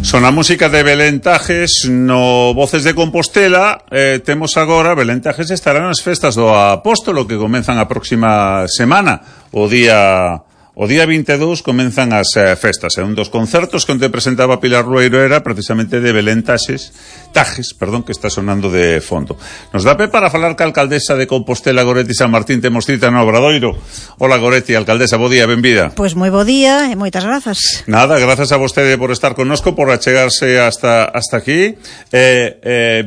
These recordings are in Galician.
Son a música de Belén Tajes no Voces de Compostela. Temos agora, Belén Tajes estará nas festas do Apóstolo que comenzan a próxima semana. O día 22 comenzan as festas. Un dos concertos que onde presentaba Pilar Rueiro era precisamente de Belén Tajes, que está sonando de fondo. Nos dá pé para falar ca alcaldesa de Compostela, Goretti San Martín. Temos cita no Obradoiro. Hola, Goretti, alcaldesa, bo día, benvida. Pois moi bo día e moitas grazas. Nada, grazas a vostede por estar connosco, por achegarse hasta aquí.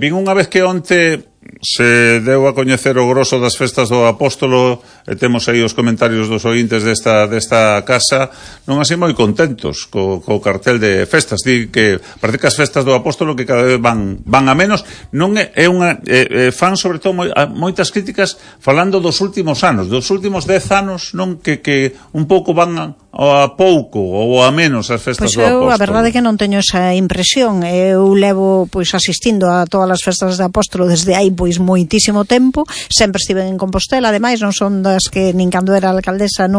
Vin unha vez que onte se deu a coñecer o grosso das festas do Apóstolo, e temos aí os comentarios dos ointes desta casa, non así moi contentos co cartel de festas. Di que parece que as festas do Apóstolo que cada vez van a menos. Non é unha fan sobre todo moitas críticas falando dos últimos anos, dos últimos 10 anos, non que un pouco van a pouco ou a menos as festas do Apóstolo. Pois eu a verdade é que non teño esa impresión. Eu levo asistindo a todas as festas do Apóstolo desde hai moitísimo tempo. Sempre estive en Compostela, ademais non son das que nin cando era alcaldesa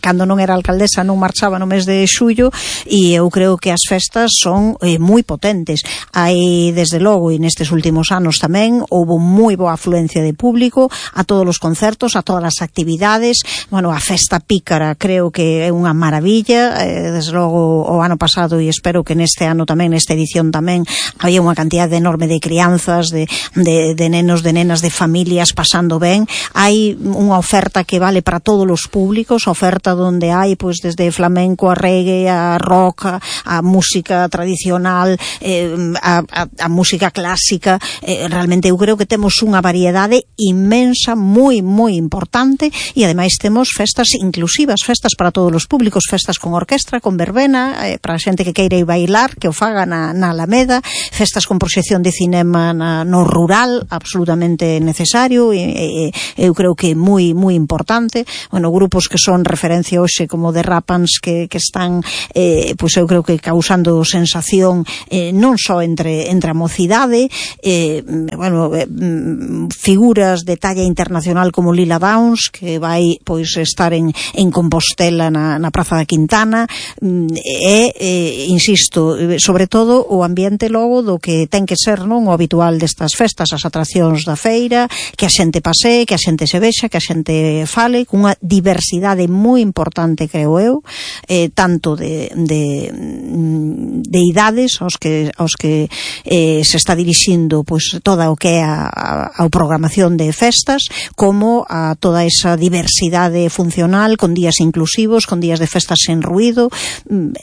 cando non era alcaldesa non marchaba no mes de xullo, e eu creo que as festas son moi potentes. Hai desde logo, e nestes últimos anos tamén houbo moi boa afluencia de público a todos os concertos, a todas as actividades. Bueno, a festa pícara creo que é unha maravilla. Desde logo o ano pasado, e espero que neste ano tamén, nesta edición tamén, había unha cantidad enorme de crianzas, de nenos, de nenas, de familias pasando ben. Hai unha oferta que vale para todos os públicos, oferta donde hai desde flamenco a reggae, a rock, a música tradicional, a música clásica. Realmente eu creo que temos unha variedade inmensa, moi importante, e ademais temos festas inclusivas, festas para todos os públicos, festas con orquestra, con verbena, para a xente que queira ir bailar, que o faga na Alameda, festas con proxección de cinema no rural, absolutamente necesario, e eu creo que moi importante. Bueno, grupos que son referencia hoxe como The Rapans que están eu creo que causando sensación non só entre a mocidade, figuras de talla internacional como Lila Downs, que vai estar en Compostela na Praza da Quintana, insisto, sobre todo o ambiente logo do que ten que ser non o habitual destas festas, as atraccións da feira, que a xente pasee, que a xente se vexa, que a xente fale, cunha diversidade moi importante, creo eu, tanto de idades aos que se está dirixindo toda o que é a programación de festas, como a toda esa diversidade funcional, con días inclusivos, con días de festas sen ruído.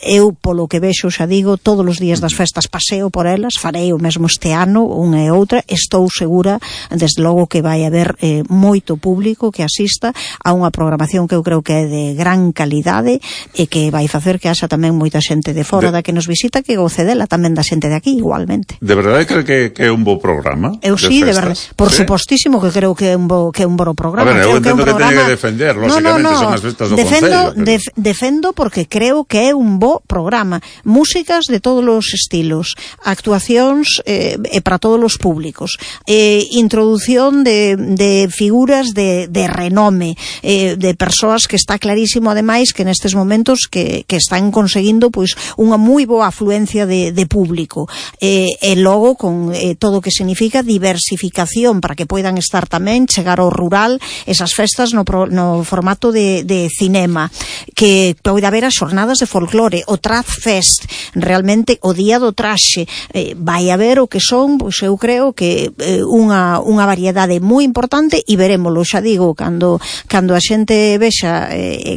Eu, polo que vexo, xa digo, todos os días das festas paseo por elas, farei o mesmo este ano, unha e outra. Estou segura, desde logo, que vai haber moito público que asista a unha programación que eu creo que é de gran calidade e que vai facer que haxa tamén moita xente de fora da que nos visita que goce dela, tamén da xente de aquí igualmente. De verdade creo que é un bo programa? Eu sí, de verdade, por supostísimo que creo que é un bo programa. A ver, eu entendo que teña que defender, lógicamente, son as festas do Concello. Defendo porque creo que é un bo programa. Músicas de todos os estilos, actuacións para todos os públicos, introdución de figuras de renome, de persoas que está clarísimo ademais que nestes momentos que están conseguindo unha moi boa afluencia de público, e logo con todo o que significa diversificación para que poidan estar tamén, chegar ao rural, esas festas no formato de cinema, que poida haber as xornadas de folclore, o Traz Fest, realmente o día do traxe, vai haber o que son, eu creo que unha variedade moi importante, e verémolo, xa digo, cando a xente vexa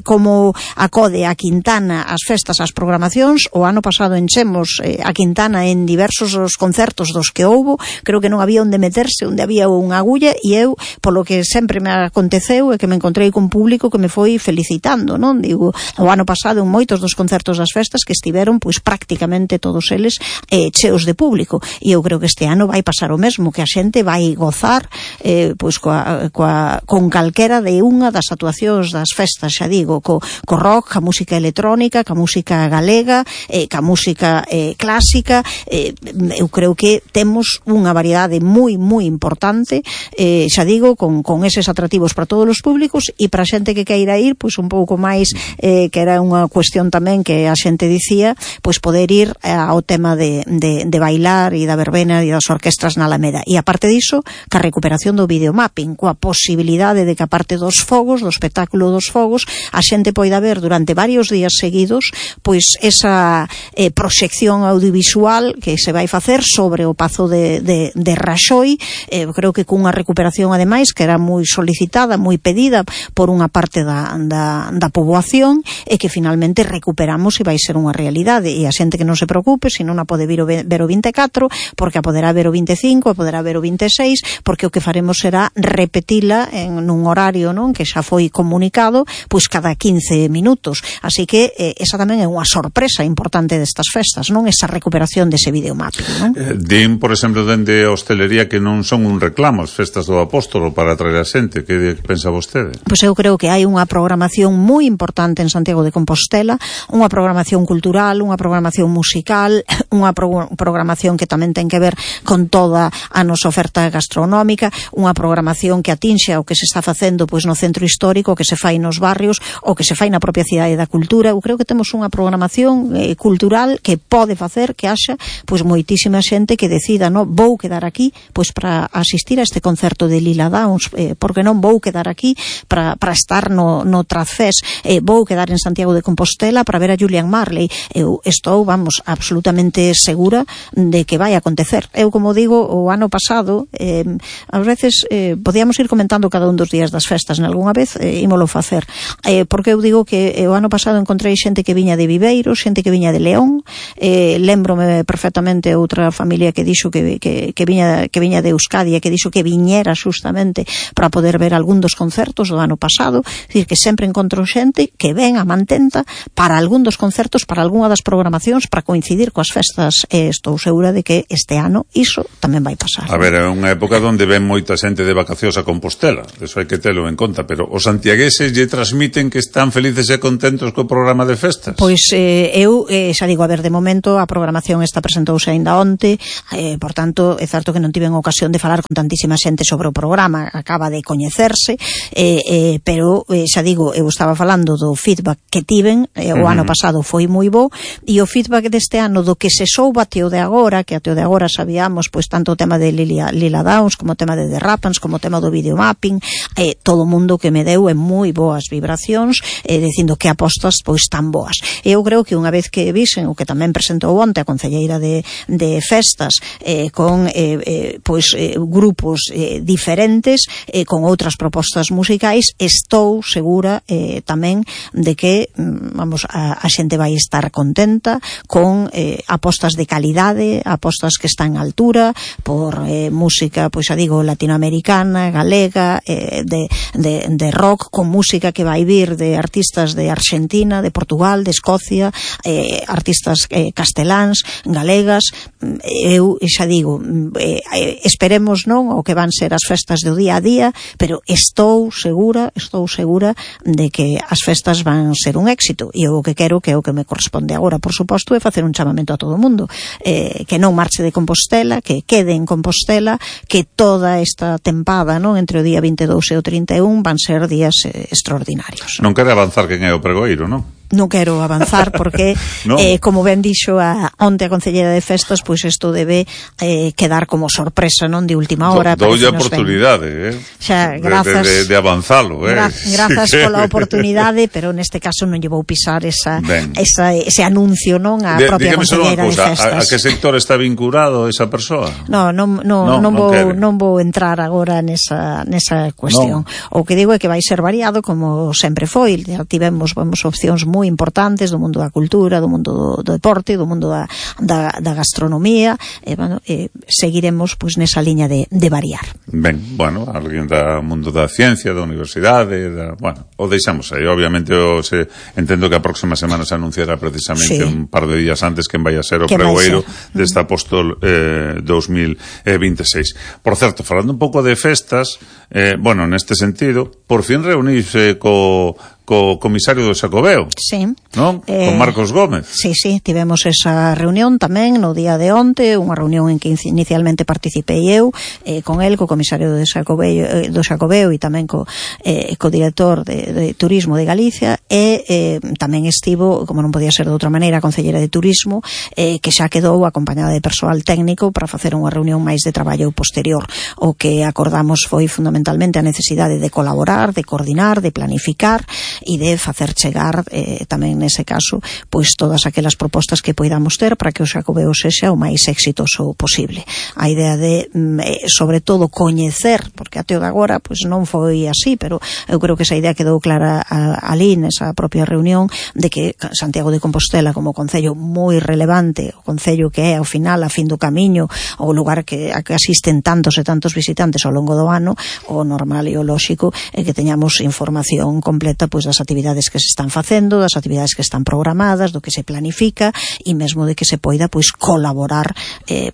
como acode a Quintana as festas, as programacións. O ano pasado enchemos a Quintana en diversos os concertos dos que houbo, creo que non había onde meterse, onde había unha agulla, e eu, polo que sempre me aconteceu, é que me encontrei con público que me foi felicitando, non? Digo, o ano pasado en moitos dos concertos das festas que estiveron prácticamente todos eles cheos de público, e eu creo que este ano vai pasar o mesmo, que a xente vai gozar con calquera de unha das actuacións das festas, xa digo, co rock, ca música electrónica, ca música galega, ca música clásica. Eu creo que temos unha variedade moi importante, xa digo, con eses atractivos para todos os públicos, e para a xente que queira ir un pouco máis que era unha cuestión tamén que a xente dicía, pois poder ir ao tema de bailar e da verbena e das orquestras na Alameda. E aparte diso, ca recuperación do videomapping, coa posibilidade de que aparte dos fogos, do espectáculo dos fogos, a xente poida ver durante varios días seguidos pois esa proxección audiovisual que se vai facer sobre o Pazo de Raxoi, creo que cunha recuperación ademais que era moi solicitada, moi pedida por unha parte da poboación, e que finalmente recuperamos e vai ser unha realidade, e a xente que non se preocupe, se non a pode ver o 24, porque a poderá ver o 25, a poderá ver o 26, porque o que faremos será repetila nun horario, non, que xa foi comunicado, pois cada 15 minutos, así que esa tamén é unha sorpresa importante destas festas, non, esa recuperación dese videomapping, non? Din, por exemplo, dende a hostelería que non son un reclamo as festas do Apóstolo para atraer a xente. Que pensa vostede? Pois eu creo que hai unha programación moi importante en Santiago de Compostela, unha programación cultural, unha programación musical, unha programación que tamén ten que ver con toda a nosa oferta gastronómica, unha programación que atinxe o que se está facendo pois no centro histórico, o que se fai nos barrios, o que se fai na propia cidade da cultura. Eu creo que temos unha programación cultural que pode facer que haxa pois moitísima xente que decida, no, vou quedar aquí pois para asistir a este concerto de Lila Downs, porque non vou quedar aquí para estar no Trazfest, vou quedar en Santiago de Compostela para ver a Julian Marley. Eu estou, vamos, absolutamente segura de que vai acontecer. Eu, como digo, o ano pasado ás veces podíamos ir comentando cada un dos días das festas, nalgúna vez ímolo facer, porque eu digo que o ano pasado encontrei xente que viña de Viveiro, xente que viña de León, lembrome perfectamente outra familia que dixo que viña de Euskadi e que dixo que viñera justamente para poder ver algún dos concertos do ano pasado. É dicir, que sempre encontro xente que ven a Mantenta para algún dos concertos, para algunha das programacións, para coincidir coas festas, e estou segura de que este ano iso tamén vai pasar. A ver, é unha época onde ven moita xente de vacacións a Compostela, eso hai que telo en conta, pero os santiagueses lle transmiten que están felices e contentos co programa de festas? Pois eu xa digo, a ver, de momento a programación esta presentouse aínda onte, por tanto, é certo que non tiven ocasión de falar con tantísima xente sobre o programa, acaba de coñecerse, pero xa digo, eu estaba falando do feedback que tiven, o ano pasado foi moi bo, e o feedback deste ano do que se souba até o de agora, que até o de agora sabíamos pois tanto o tema de Lila Downs como o tema de The Rappans, como o tema do videomapping, todo o mundo que me deu moi boas vibracións, dicindo que apostas pois tan boas. Eu creo que unha vez que visen o que tamén presentou onte a concelleira de festas, con grupos diferentes, con outras propostas musicais, estou segura tamén de que a xente vai estar contenta con apostas de calidade, apostas que están a altura por música, pois xa digo, latinoamericana, galega, de rock, con música que vai vir de artistas de Argentina, de Portugal, de Escocia, artistas casteláns, galegas. Eu xa digo, esperemos non o que van ser as festas do día a día, pero estou segura de que as festas van ser un éxito, e eu o que quero, que é o que me corresponde agora, por suposto, é facer un chamamento a todo o mundo, que non marche de Compostela, que quede en Compostela, que toda esta tempada, non, entre o día 22 e o 31 van ser días extraordinarios. Non quere avanzar quen é o pregoeiro, non? Non quero avanzar porque no. Como ben dixo onte a concelleira de festas, pois isto debe quedar como sorpresa, non, de última hora. Doulle a oportunidade, xa, grazas, de avanzalo, grazas pola oportunidade, pero neste caso non lle vou pisar ese anuncio, non, a propia concelleira de festas. A que sector está vinculado esa persoa? Non vou entrar agora nesa cuestión. O que digo é que vai ser variado, como sempre foi. Já tivemos opcións moi importantes do mundo da cultura, do mundo do deporte, do mundo da gastronomía, seguiremos pois nesa liña de variar. Ben, bueno, alguén do mundo da ciencia, da universidade, o deixamos aí. Obviamente entendo que a próxima semana se anunciará precisamente un par de días antes quen vai a ser o pregoeiro deste Apóstol 2026. Por certo, falando un pouco de festas, neste sentido, por fin reunirse co co comisario do Xacobeo, sí, non? Con Marcos Gómez. Sí, tivemos esa reunión tamén no día de onte, unha reunión en que inicialmente participei eu, con el, co comisario do Xacobeo e tamén co director de Turismo de Galicia, e tamén estivo, como non podía ser de outra maneira, a concelleira de Turismo, que xa quedou acompañada de persoal técnico para facer unha reunión máis de traballo posterior. O que acordamos foi fundamentalmente a necesidade de colaborar, de coordinar, de planificar e de facer chegar tamén nese caso pois todas aquelas propostas que poidamos ter para que o Xacobeo sexa o máis exitoso posible. A idea de sobre todo coñecer, porque até o de agora pois non foi así, pero eu creo que esa idea quedou clara ali nesa propia reunión de que Santiago de Compostela como concello moi relevante, o concello que é ao final, a fin do camiño, o lugar a que asisten tantos e tantos visitantes ao longo do ano, o normal e o lóxico é que teñamos información completa pois das actividades que se están facendo, das actividades que están programadas, do que se planifica e mesmo de que se poida pois colaborar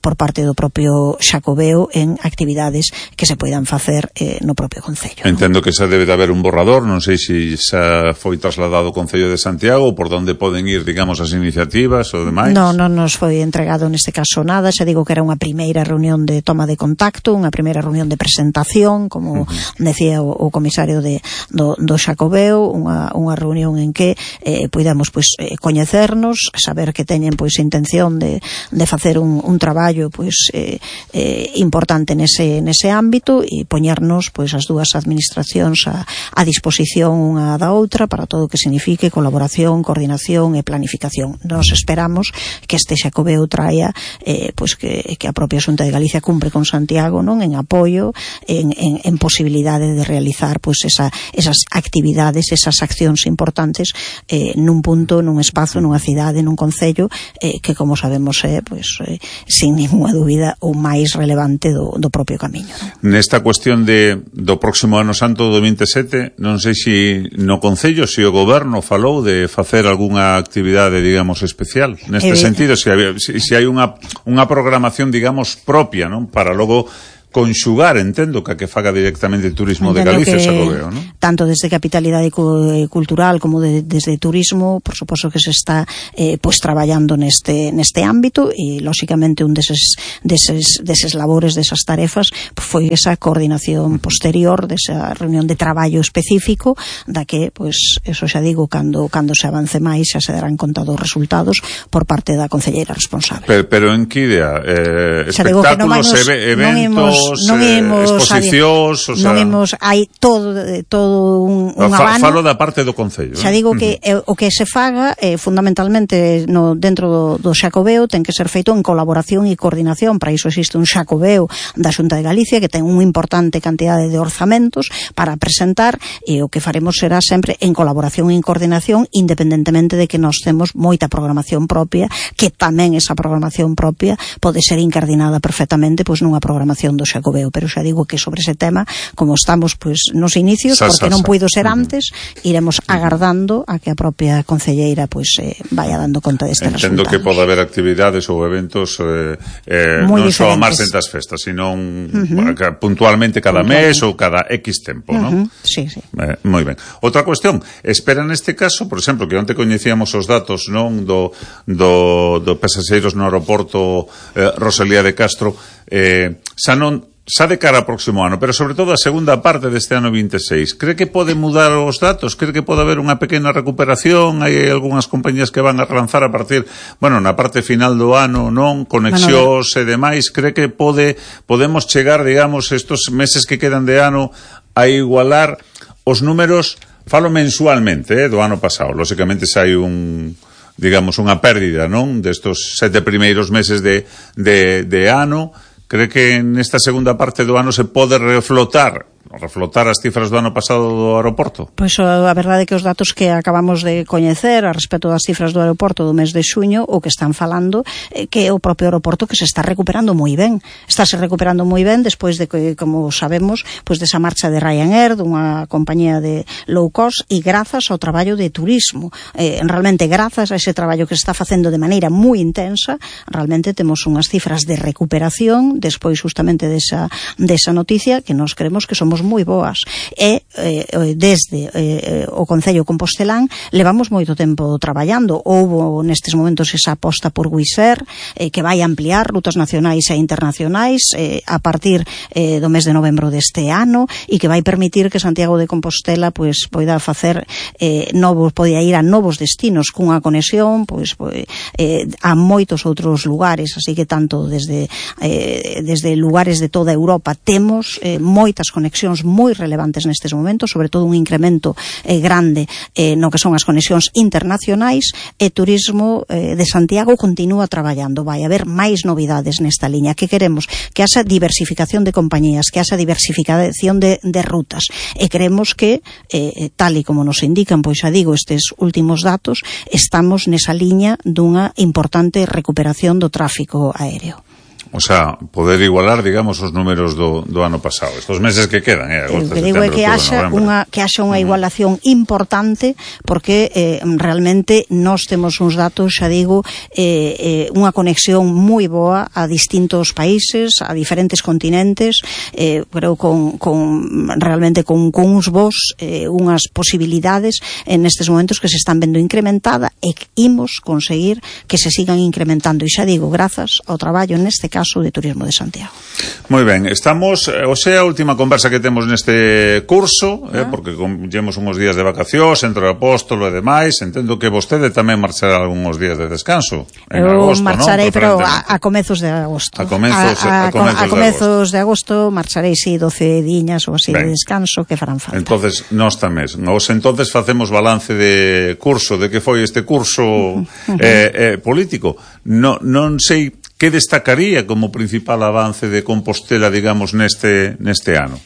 por parte do propio Xacobeo en actividades que se poidan facer no propio concello. Entendo que xa debe de haber un borrador, non sei se xa foi trasladado ao Concello de Santiago, por onde poden ir, digamos, as iniciativas ou demais. Non nos foi entregado neste caso nada, xa digo que era unha primeira reunión de toma de contacto, unha primeira reunión de presentación, como decía o comisario do Xacobeo, unha reunión en que poidamos pois coñecernos, saber que teñen pois intención de facer un traballo pois importante nese ámbito e poñernos pois as dúas administracións a disposición unha da outra para todo o que signifique colaboración, coordinación e planificación. Nos esperamos que este Xacobeo traia pois que a propia Xunta de Galicia cumpre con Santiago, non, en apoio, en posibilidade de realizar pois esas actividades, esas accións importantes nun punto, nun espazo, nunha cidade, nun concello que como sabemos é sin ninguna dúbida o máis relevante do propio camiño. Nesta cuestión do próximo ano santo do 27, non sei se no concello, se o goberno falou de facer algunha actividade, digamos, especial neste sentido, se hai unha programación, digamos, propia, non, para logo conxugar, entendo, que faga directamente Turismo de Galicia, Xacobeo, non? Tanto desde Capitalidade Cultural como desde Turismo, por suposto que se está pois traballando neste ámbito e, lóxicamente, un deses labores, desas tarefas, foi esa coordinación posterior, desa reunión de traballo específico, da que, pois, eso xa digo, cando se avance máis, xa se darán conta dos resultados por parte da concelleira responsable. Pero en que idea? Espectáculos, eventos, exposicións, non imos, hai todo un abano. Falo da parte do concello. Xa digo que o que se faga fundamentalmente dentro do Xacobeo ten que ser feito en colaboración e coordinación. Para iso existe un Xacobeo da Xunta de Galicia que ten unha importante cantidade de orzamentos para presentar, e o que faremos será sempre en colaboración e en coordinación, independentemente de que nós temos moita programación propia, que tamén esa programación propia pode ser incardinada perfectamente pois nunha programación do Xacobeo, pero xa digo que sobre ese tema, como estamos pois nos inicios, porque non puido ser antes, iremos agardando a que a propia concelleira pois vaya dando conta deste resultado. Entendo que pode haber actividades ou eventos non só a marxen das festas, sino puntualmente cada mes ou cada X tempo, non? Sí. Moi ben. Outra cuestión, espera neste caso, por exemplo, que onte coñecíamos os datos, non, do pasaxeiros no aeroporto Rosalía de Castro, xa de cara ao próximo ano, pero sobre todo a segunda parte deste ano 26. Cree que pode mudar os datos? Cree que pode haber unha pequena recuperación? Hai algunhas compañías que van a relanzar a partir, na parte final do ano, non? Conexións e demais. Cree que podemos chegar, digamos, estos meses que quedan de ano a igualar os números, falo mensualmente, do ano pasado. Lóxicamente, se hai digamos, unha pérdida, non? Destos 7 primeiros meses de ano. Cree que nesta segunda parte do ano se pode reflotar as cifras do ano pasado do aeroporto? Pois a verdade é que os datos que acabamos de coñecer a respecto das cifras do aeroporto do mes de xuño, o que están falando que é o propio aeroporto que se está recuperando moi ben. Estáse recuperando moi ben despois de que, como sabemos, pois desa marcha de Ryanair, dunha compañía de low cost, e grazas ao traballo de Turismo. Realmente, grazas a ese traballo que se está facendo de maneira moi intensa, realmente temos unhas cifras de recuperación despois justamente desa noticia que nós creemos que son levamos moi boas, e desde o Concello compostelán levamos moito tempo traballando. Houbo nestes momentos esa aposta por Wizz Air, que vai ampliar rutas nacionais e internacionais a partir do mes de novembro deste ano, e que vai permitir que Santiago de Compostela pois poida facer poida ir a novos destinos cunha conexión pois a moitos outros lugares. Así que tanto desde lugares de toda Europa temos moitas conexións moi relevantes nestes momentos, sobre todo un incremento grande no que son as conexións internacionais, e Turismo de Santiago continúa traballando. Vai haber máis novidades nesta liña. Que queremos? Que haxa diversificación de compañías, que haxa diversificación de rutas, e creemos que tal e como nos indican, pois xa digo, estes últimos datos, estamos nesa liña dunha importante recuperación do tráfico aéreo. O sea, poder igualar, digamos, os números do ano pasado. Estos meses que quedan, agosto, que digo é que haxa unha igualación importante, porque realmente nós temos uns datos, xa digo, unha conexión moi boa a distintos países, a diferentes continentes, creo realmente con uns vos, unhas posibilidades nestes momentos que se están vendo incrementada, e que imos conseguir que se sigan incrementando, e xa digo, grazas ao traballo neste caso de Turismo de Santiago. Moi ben, estamos, a última conversa que temos neste curso, porque llevamos uns días de vacacións entre o apóstolo e demais. Entendo que vostede tamén marchará algúns días de descanso en agosto, marcharei, ¿no? Pero a comezos de agosto. A comezos de agosto marcharei, sí, 12 diñas ou así de descanso que farán falta. Entonces, nós tamén. Entonces facemos balance de curso, de que foi este curso político. Non sei que destacaría como principal avance de Compostela, digamos, neste ano?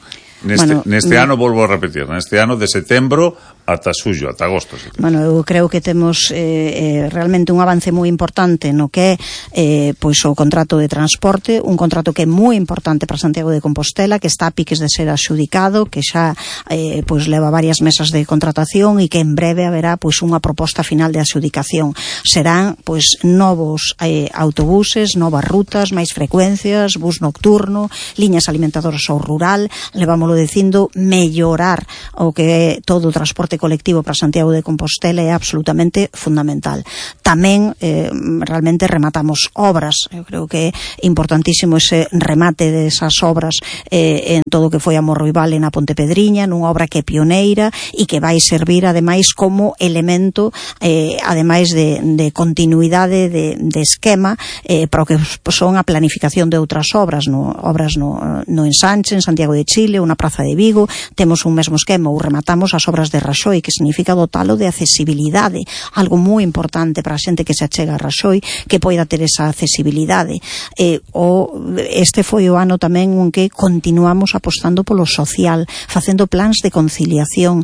Neste ano, volvo a repetir, neste ano de setembro ata xullo, ata agosto. Bueno, eu creo que temos realmente un avance moi importante no que é pois o contrato de transporte, un contrato que é moi importante para Santiago de Compostela, que está a piques de ser adxudicado, que xa pois leva varias mesas de contratación, e que en breve haberá pois unha proposta final de adxudicación. Serán pois novos autobuses, novas rutas, máis frecuencias, bus nocturno, liñas alimentadoras ao rural, levámoslo dicindo, mellorar o que é todo o transporte colectivo para Santiago de Compostela é absolutamente fundamental. Tamén realmente rematamos obras. Eu creo que é importantísimo ese remate desas obras en todo o que foi a Morroibal e na Pontepedriña, nunha obra que é pioneira e que vai servir ademais como elemento ademais de continuidade de esquema para o que son a planificación de outras obras no Ensanche, en Santiago de Chile, ou na Praza de Vigo. Temos un mesmo esquema, ou rematamos as obras de Raxoi, que significa dotalo de accesibilidade, algo moi importante para a xente que se achega a Raxoi, que poida ter esa accesibilidade. Este foi o ano tamén en que continuamos apostando polo social, facendo plans de conciliación,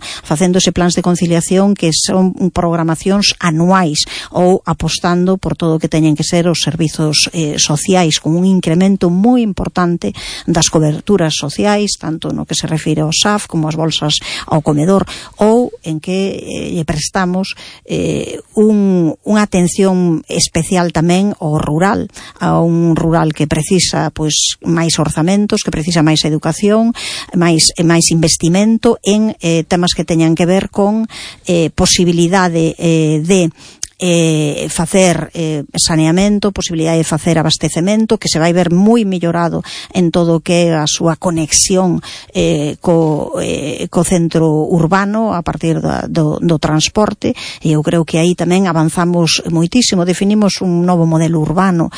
que son programacións anuais, ou apostando por todo o que teñen que ser os servizos sociais, con un incremento moi importante das coberturas sociais, tanto no que se refire ao SAF como as bolsas ao comedor, ou en que lle prestamos unha atención especial tamén ao rural, a un rural que precisa pois máis orzamentos, que precisa máis educación, máis investimento en temas que teñan que ver con posibilidade de facer saneamento, posibilidade de facer abastecemento, que se vai ver moi mellorado en todo o que é a súa conexión co centro urbano a partir do transporte, e eu creo que aí tamén avanzamos moitísimo. Definimos un novo modelo urbano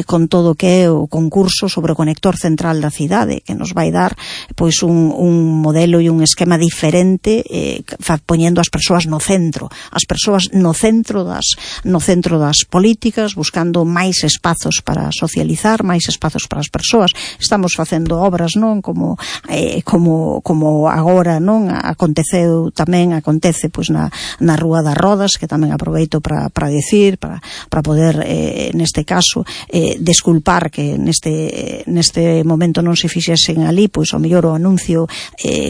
con todo o que é o concurso sobre o conector central da cidade, que nos vai dar pois un modelo e un esquema diferente, poñendo as persoas no centro, das políticas, buscando máis espazos para socializar, máis espazos para as persoas. Estamos facendo obras, non, como agora, non, acontece pois na Rúa das Rodas, que tamén aproveito para decir, para poder neste caso desculpar que neste momento non se fixesen ali pois o mellor o anuncio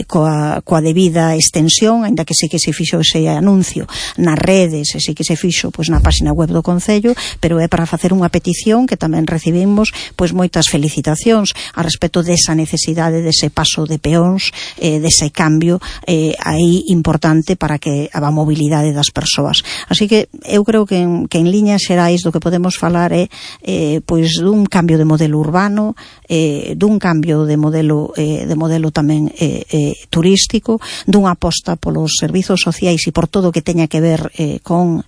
coa debida extensión, aínda que sí que se fixo ese anuncio nas redes, e sí que se fixo fixo pois na páxina web do Concello, pero é para facer unha petición que tamén recibimos pois moitas felicitacións a respecto desa necesidade dese paso de peóns, dese cambio aí importante para que a mobilidade das persoas. Así que eu creo que en liñas xerais do que podemos falar é pois dun cambio de modelo urbano, dun cambio de modelo tamén turístico, dunha aposta polos servizos sociais e por todo o que teña que ver con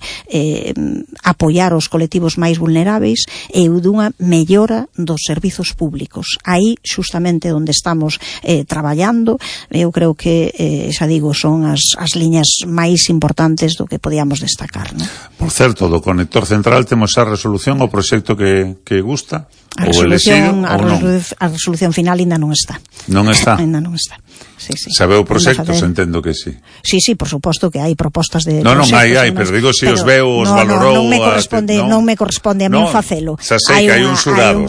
apoiar os colectivos máis vulneráveis e dunha mellora dos servizos públicos. Aí xustamente onde estamos traballando, eu creo que xa digo, son as liñas máis importantes do que podíamos destacar, non? Por certo, do conector central temos a resolución o proxecto que gusta? A resolución final ainda non está. Non está? Ainda non está. Sí. Sabeu proxectos, entendo que sí. Sí, por suposto que hai propostas de non hai, pero digo se os veu, os valorou. Non me corresponde a min facelo. Xa sei que hai un xurado,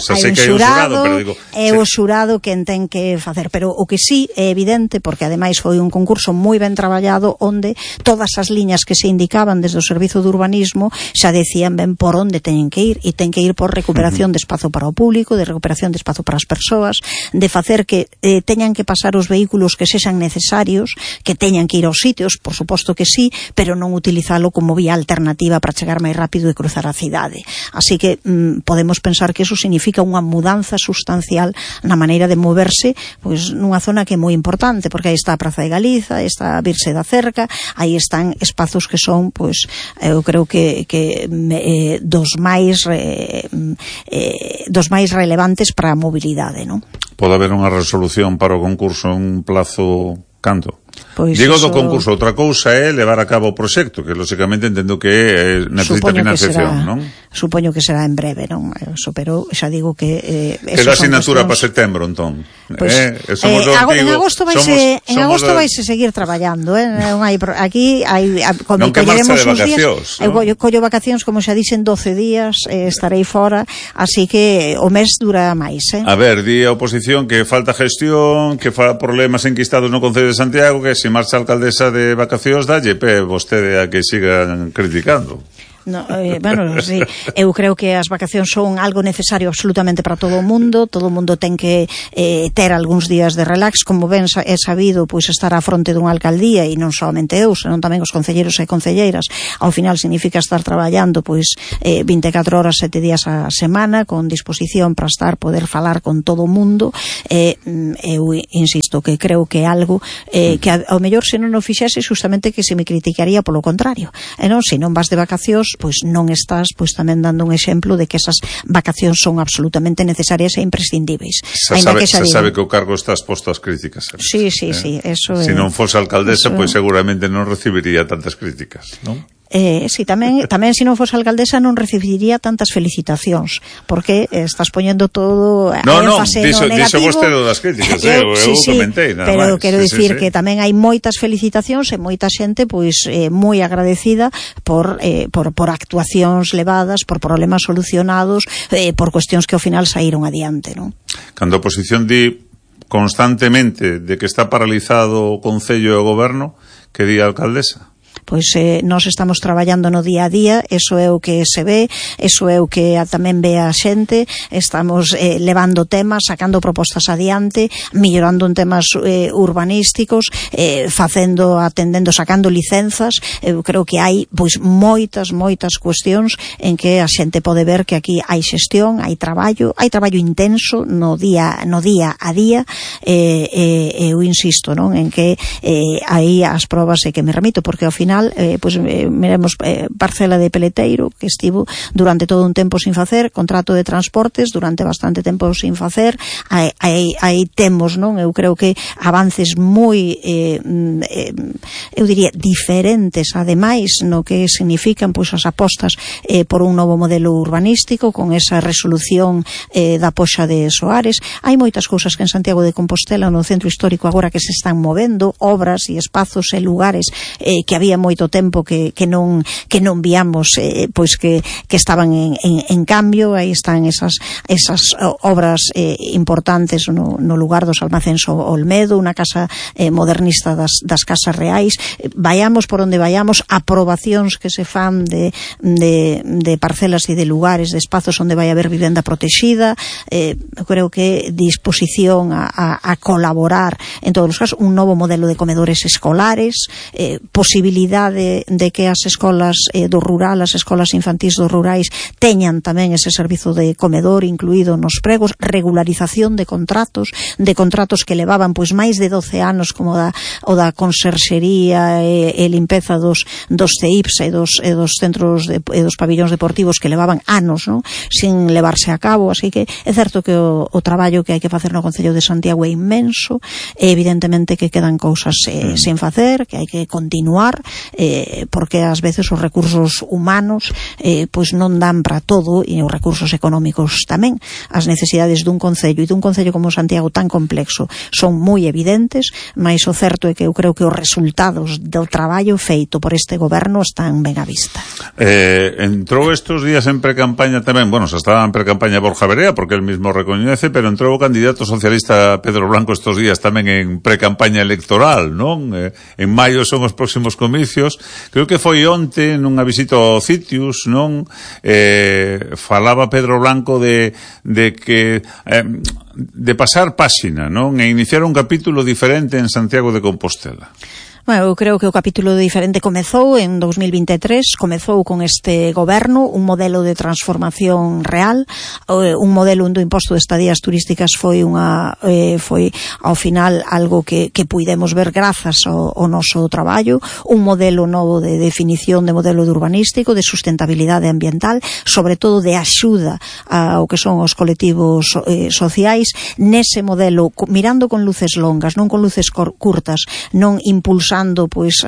pero digo, é o xurado que ten que facer, pero o que sí é evidente, porque ademais foi un concurso moi ben traballado onde todas as liñas que se indicaban desde o Servizo de Urbanismo xa decían ben por onde teñen que ir, e ten que ir por recuperación de espazo para o público, de recuperación de espazo para as persoas, de facer que teñan que pasar os vehículos que sexan necesarios, que teñan que ir aos sitios, por suposto que sí, pero non utilizalo como vía alternativa para chegar máis rápido e cruzar a cidade. Así que podemos pensar que eso significa unha mudanza sustancial na maneira de moverse pois nunha zona que é moi importante, porque aí está a Praza de Galiza, está a Virse da Cerca, aí están espazos que son, pois, eu creo que dos máis relevantes para a mobilidade, non? Pode haber unha resolución para o concurso en un plazo canto? Pois digo do concurso, outra cousa é levar a cabo o proxecto, que lógicamente entendo que necesita financiación, non? Supoño que será en breve, non? Eso, pero xa digo que queda asignatura para setembro, entón. En agosto vaise seguir traballando, aquí hai non que marcha de vacacións. Eu collo vacacións, como xa dixen, 12 días, estarei fora, así que o mes dura máis, A ver, di a oposición que falta gestión, que fa problemas enquistados no Concello de Santiago, que se marcha a alcaldesa de vacacións, dalle vostede a que sigan criticando. No, bueno, sí, eu creo que as vacacións son algo necesario absolutamente para todo o mundo ten que ter algúns días de relax, como ben é sabido, pois estar á fronte dunha alcaldía, e non somente eu, senón tamén os concelleiros e concelleiras, ao final significa estar traballando pois 24 horas, 7 días a semana, con disposición para poder falar con todo o mundo. Eu insisto que creo que é algo que ao mellor se non o fixese justamente que se me criticaría polo contrario, e non, se non vas de vacacións pois non estás pois tamén dando un exemplo de que esas vacacións son absolutamente necesarias e imprescindíveis. Sabe que o cargo está exposto ás críticas. Sí, eso é. Se non fose alcaldesa, pois seguramente non recibiría tantas críticas, non? Sí, tamén se non fose alcaldesa non recibiría tantas felicitacións, porque estás poñendo todo énfase no negativo. Dixo vostede das críticas, eu comentei nada pero máis. Quero dicir que tamén hai moitas felicitacións e moita xente pois moi agradecida por actuacións levadas, por problemas solucionados, por cuestións que ao final saíron adiante, non? Cando a oposición di constantemente de que está paralizado o Concello e o Goberno, que di a alcaldesa? Pois nós estamos traballando no día a día, eso é o que se ve, eso é o que tamén ve a xente, estamos levando temas, sacando propostas adiante, mellorando en temas urbanísticos, atendendo, sacando licenzas. Eu creo que hai pois moitas cuestións en que a xente pode ver que aquí hai xestión, hai traballo intenso no día a día, eu insisto, non, en que aí as probas é que me remito, porque ao final miremos parcela de Peleteiro, que estivo durante todo un tempo sin facer, contrato de transportes durante bastante tempo sin facer, aí temos, non, eu creo que avances moi eu diría diferentes ademais no que significan pois as apostas por un novo modelo urbanístico con esa resolución da Poxa de Soares. Hai moitas cousas que en Santiago de Compostela, no centro histórico agora, que se están movendo, obras e espazos e lugares que habíamos moito tempo que non víamos pois que estaban en cambio. Aí están esas obras importantes no lugar dos almacéns Olmedo, unha casa modernista das casas reais. Vayamos por onde vayamos, aprobacións que se fan de parcelas e de lugares, de espazos onde vai haber vivenda protexida. Creo que disposición a colaborar en todos os casos, un novo modelo de comedores escolares, posibilidade de que as escolas do rural, as escolas infantís dos rurais teñan tamén ese servizo de comedor incluído nos pregos, regularización de contratos que levaban pois máis de 12 anos, como o da conserxería e limpeza dos CEIPs e dos centros e dos pabillóns deportivos, que levaban anos, non, sin levarse a cabo. Así que é certo que o traballo que hai que facer no Concello de Santiago é inmenso, e evidentemente que quedan cousas sen facer, que hai que continuar, porque ás veces os recursos humanos pois non dan para todo, e os recursos económicos tamén. As necesidades dun concello como Santiago tan complexo son moi evidentes, mas o certo é que eu creo que os resultados do traballo feito por este goberno están ben á vista. Entrou estes días en precampaña tamén, bueno, se estaba en precampaña Borja Verea, porque el mismo recoñece, pero entrou o candidato socialista Pedro Blanco estes días tamén en precampaña electoral, non? En maio son os próximos comicios. Creo que foi onte nunha visita ao Citius, non? Falaba Pedro Blanco de que de pasar páxina, non? E iniciar un capítulo diferente en Santiago de Compostela. Bueno, eu creo que o capítulo diferente comezou en 2023, comezou con este goberno, un modelo de transformación real, un modelo onde o imposto de estadías turísticas foi ao final algo que puidemos ver grazas ao noso traballo, un modelo novo de definición de modelo de urbanístico, de sustentabilidade ambiental, sobre todo de axuda ao que son os colectivos sociais, nese modelo, mirando con luces longas, non con luces curtas, non impulsando pois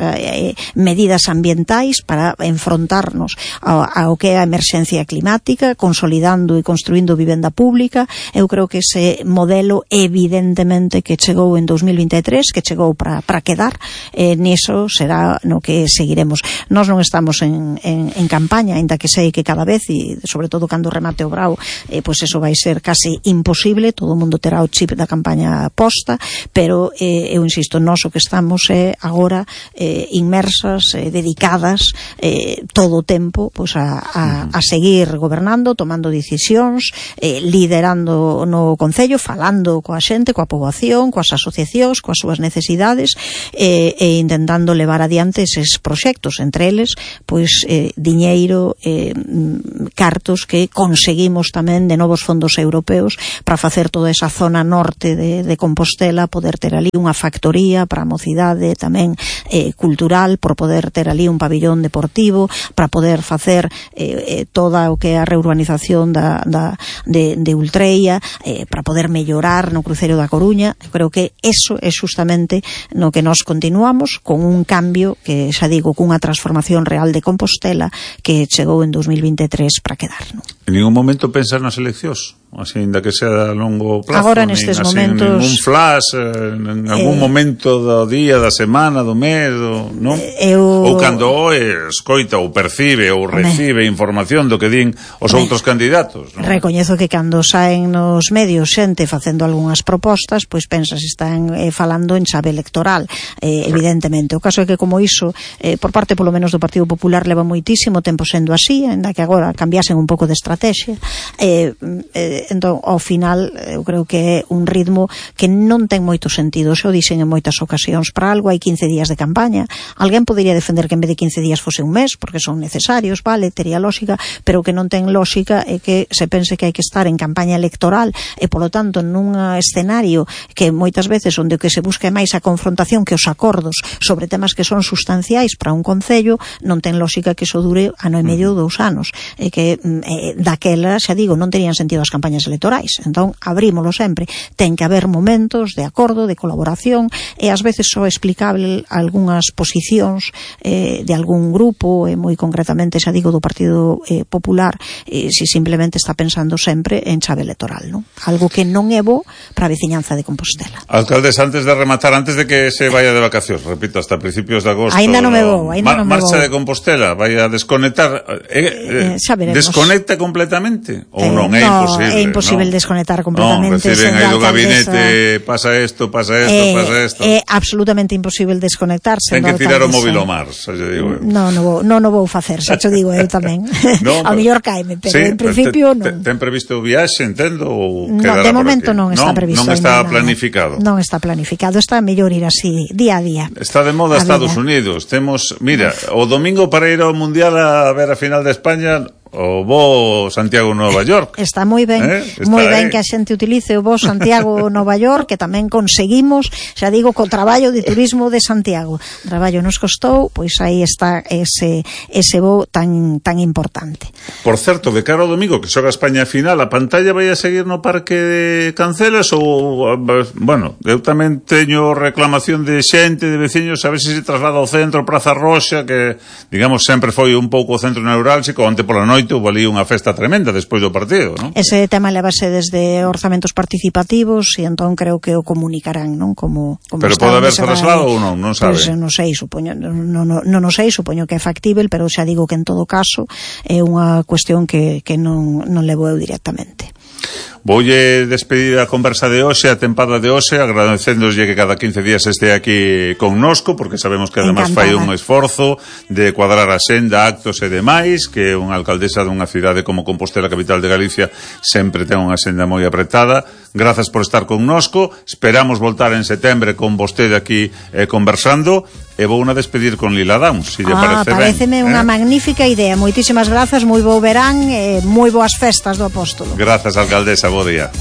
medidas ambientais para enfrontarnos ao que é a emerxencia climática, consolidando e construindo vivenda pública. Eu creo que ese modelo evidentemente que chegou en 2023, que chegou para quedar, niso será no que seguiremos. Nós non estamos en campaña, ainda que sei que cada vez, e sobre todo cando remate o brao, pois eso vai ser casi imposible, todo o mundo terá o chip da campaña posta, pero eu insisto, nós o que estamos é agora inmersas, dedicadas todo o tempo pois a seguir gobernando, tomando decisións, liderando no Concello, falando coa xente, coa poboación, coas asociacións, coas súas necesidades, e intentando levar adiante eses proxectos, entre eles pois diñeiro, cartos que conseguimos tamén de novos fondos europeos para facer toda esa zona norte de Compostela, poder ter ali unha factoría para a mocidade tamén cultural, por poder ter ali un pabillón deportivo, para poder facer toda o que é a reurbanización de Ultreia, para poder mellorar no cruceiro da Coruña. Eu creo que eso é justamente no que nós continuamos, con un cambio que, xa digo, cunha transformación real de Compostela que chegou en 2023 para quedar, non? En ningún momento pensar nas eleccións? Así, ainda que sea a longo plazo, agora nestes momentos, ningún flash, en algún momento do día, da semana, do mes, non? Ou cando escoita ou percibe ou recibe información do que din os outros candidatos, non? Recoñezo que cando saen nos medios xente facendo algunhas propostas, pois pensas están falando en chave electoral, evidentemente. O caso é que como iso, por parte polo menos do Partido Popular, leva moitísimo tempo sendo así, ainda que agora cambiasen un pouco de estrategia, entón, ao final, eu creo que é un ritmo que non ten moito sentido. Xo dixen en moitas ocasións, para algo hai 15 días de campaña. Alguén podería defender que en vez de 15 días fose un mes, porque son necesarios, vale, tería lógica, pero o que non ten lógica é que se pense que hai que estar en campaña electoral e, polo tanto, nun escenario que moitas veces onde o que se busca é máis a confrontación que os acordos sobre temas que son sustanciais para un concello, non ten lógica que iso dure ano e medio ou 2 anos. E que daquela, xa digo, non terían sentido as campañas campañas electorais. Entón, abrímolo sempre. Ten que haber momentos de acordo, de colaboración, e ás veces só explicable algunhas posicións de algún grupo, e moi concretamente, xa digo, do Partido Popular, si simplemente está pensando sempre en chave electoral, non? Algo que non é bo para a veciñanza de Compostela. Alcaldes, antes de rematar, antes de que se vaya de vacacións, repito, hasta principios de agosto, ainda non me vou, marcha de Compostela, vai a desconectar, desconecta completamente ou non? É imposible. É imposible desconectar completamente. Reciben aí do gabinete, pasa isto, pasa isto. É absolutamente imposible desconectar. Ten que tirar o móvil ao mar, xa lle digo eu. Non vou facer, xa te digo eu tamén. Ao mellor caime, pero en principio non. Ten previsto o viaxe, entendo, ou quedará por aquí? De momento non está previsto. Non está planificado. Non está planificado, está mellor ir así, día a día. Está de moda Estados Unidos. Temos, mira, o domingo para ir ao Mundial a ver a final de España, o bo Santiago Nova York. Está moi ben, moi ben que a xente utilice o bo Santiago Nova York, que tamén conseguimos, xa digo, co traballo de turismo de Santiago. O traballo nos costou, pois aí está ese bo tan importante. Por certo, de cara ao domingo que xoga España final, a pantalla vai a seguir no Parque de Cancelas ou, bueno, eu tamén teño reclamación de xente, de veciños, a ver se traslada ao centro, Praza Roxa, que digamos sempre foi un pouco o centro neurálxico, onte pola noite houve ali unha festa tremenda despois do partido, non? Ese tema levase desde orzamentos participativos e entón creo que o comunicarán, non? Como pero pode haber traslado ou non? Non sabe. Pois non sei, supoño, non sei, supoño que é factível, pero xa digo que en todo caso é unha cuestión que non levo eu directamente. Voulle despedir a conversa de hoxe, a tempada de hoxe, agradecéndoslle que cada 15 días este aquí connosco, porque sabemos que además fai un esforzo de cuadrar a senda, actos e demais, que unha alcaldesa dunha cidade como Compostela, capital de Galicia, sempre ten unha senda moi apretada. Grazas por estar connosco, esperamos voltar en setembro con vostede aquí conversando, e vou a despedir con Lila Downs, se lle parece ben. Pareceme unha magnífica idea. Moitísimas grazas, moi bo verán e moi boas festas do Apóstolo. Grazas, alcaldesa, bo día.